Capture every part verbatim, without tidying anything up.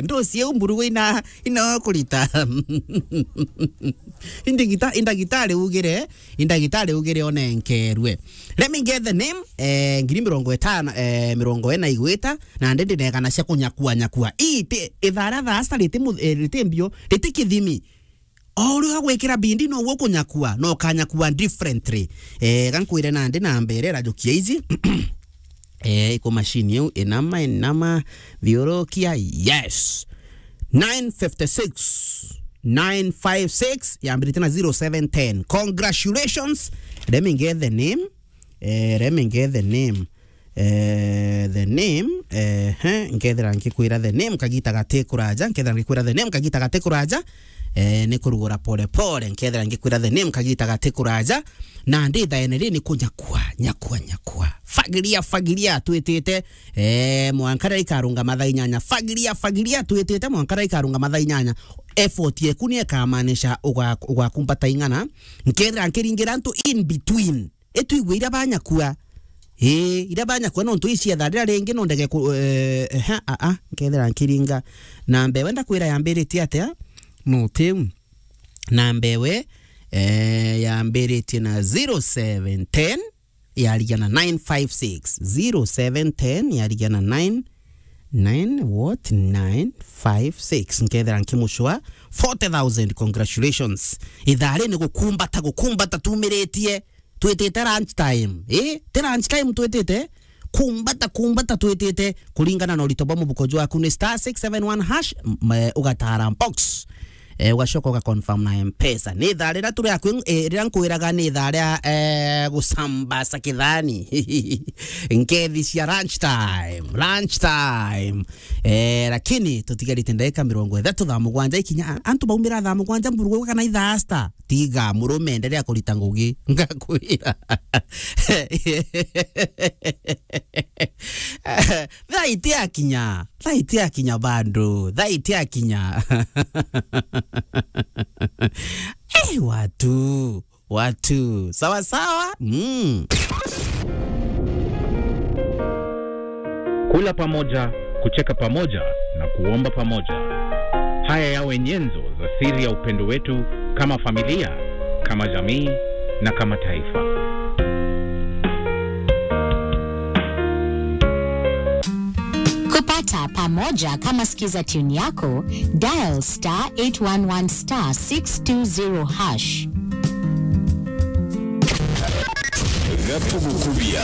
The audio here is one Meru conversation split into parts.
Nduci iu mburugu ina, ina kurita. Indagita-, indagitari ugire, indagitari ugire onenkerwe. Let me get the name, eh, ngiri mirongo itano, eh, mirongo ina igwita, na ndi ndinegana cia kunyakua, nyakua. Ii ti, ithaa ria thaa sita riti mu-, eh, riti mbio, riti kithimi. O uria ugwikira bindi noguo ukunyakua, na ukanyakua differently. Eh, ga nkwire nandi namba iria irajukia ici. Eh, iko machine iu, inama, inama, thiurukia, yes. Nine fifty-six, nine five six, yambirite na zero seven ten. Congratulations. Let me get the name. Eh, let me get the name. Eh, the name, eh, he, nkethira ngikwira the name kagita gati kuraja, nkethira ngikwira the name kagita gati kuraja, eh, ni kurugura pole pole, nkethira ngikwira the name kagita gati kuraja, na ndi thaene ri ni kunyakua, nyakua, nyakua. Fagiria, fagiria, twitite, eh, mwanka ria ikarunga mathaa inyanya. Fagiria, fagiria, twitite, mwanka ria ikarunga mathaa inyanya. Effort yeku ni ikamaanisha uga-, ugakumbata ing'ana, nkethira nkiringira antu in between. Itwigue iria banyakua. Ii, iria banyakua nontu icietha riria ringi no ndege ku-, eh, ehe, a, a, nkethira nkiringa. Namba ewe ndakwira yambiritie atia? No tiu. Namba ewe, eh, yambiritie na zero seven ten, yarigia na nine five six. Zero seven ten, yarigia na nine, nine, what? Nine five six. Nkethira nkimucua forty thousand. Congratulations. Ithaa ri ni gukumbata, gukumbata tumiritie. Twitite lunch time. Eh, ti lunch time twitite. Kumbata, kumbata twitite. Kuringana na urito bwa mubuko jwaku ni star six seven one hash, m-, eh, ugatara box. Eh, ugacoka ugaconfirm na M-Pesa. Ni ithaa riria turi akwi-, eh, riria nkwiraga ni ithaa ria, eh, gucambasa kithani. Nkethi cia lunch time, lunch time. Eh, lakini tutigarite ndagika mirongo ithatu thaa mugwanja ikinya. Antu baumira thaa mugwanja mburugu kana ithaa star. Tiga, murume, endelea kurita ngugi. Ngakwira. Thaa itiakinya. Thaa itiakinya bado. Thaa itiakinya. Eh, watu. Watu. Sawa sawa? Mm. Kula pamoja, kucheka pamoja na kuomba pamoja. Haya yawe nyenzo za siri ya upendo wetu kama familia, kama jamii na kama taifa. Kupata pamoja kama sikiza tune yako, dial star eight one one star six two zero hash. Gatugukubia.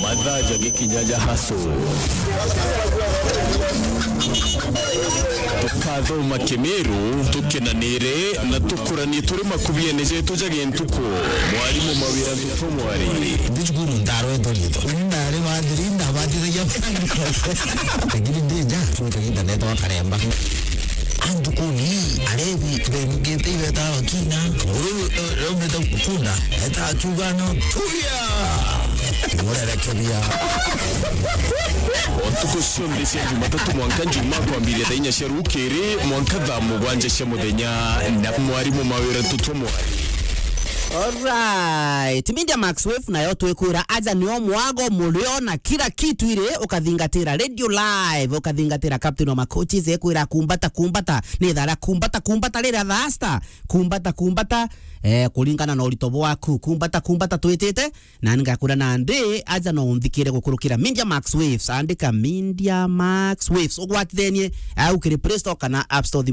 Mathaa ja gikinya ja haso. Tukathoma Kimiru, tukenanire na tukuranie turi makubiene jetu ja gintuku. Mwarimu Mawira Ntutu Mwari. Ndi cukuru ndarwetwo riitwa. Nari wathiri ndabatithagia. Lakini ndi nja, cwita kahinda neetagwa Karemba. Antu kuni, arebi, bemugite ibeta bakina. Nguru, eh, raumite kunda, eta akiuga no, tuya! Murerekeria. Ntuku cionthe cia Jumatatu mwanka Njumaa kwambiria thaa inya cia rukiri, mwanka thaa mugwanja cia muthenya, na mwarimu Mawira Ntutu Mwari. Alright. Media Max Wave nayo twikwira aja nio mwago murio na kila kitu iri ukathingatira radio live, ukathingatira captain wa macoaches ekwira kumbata, kumbata, ni thara kumbata, kumbata rira thasta, kumbata, kumbata, eh, kuringana na urito bwaku, kumbata, kumbata twitite, na ngakwira nandi aja no unthikire gukurukira Media Max Waves, andika Media Max Waves, ugwatithenie au kiri Play Store kana App Store thimu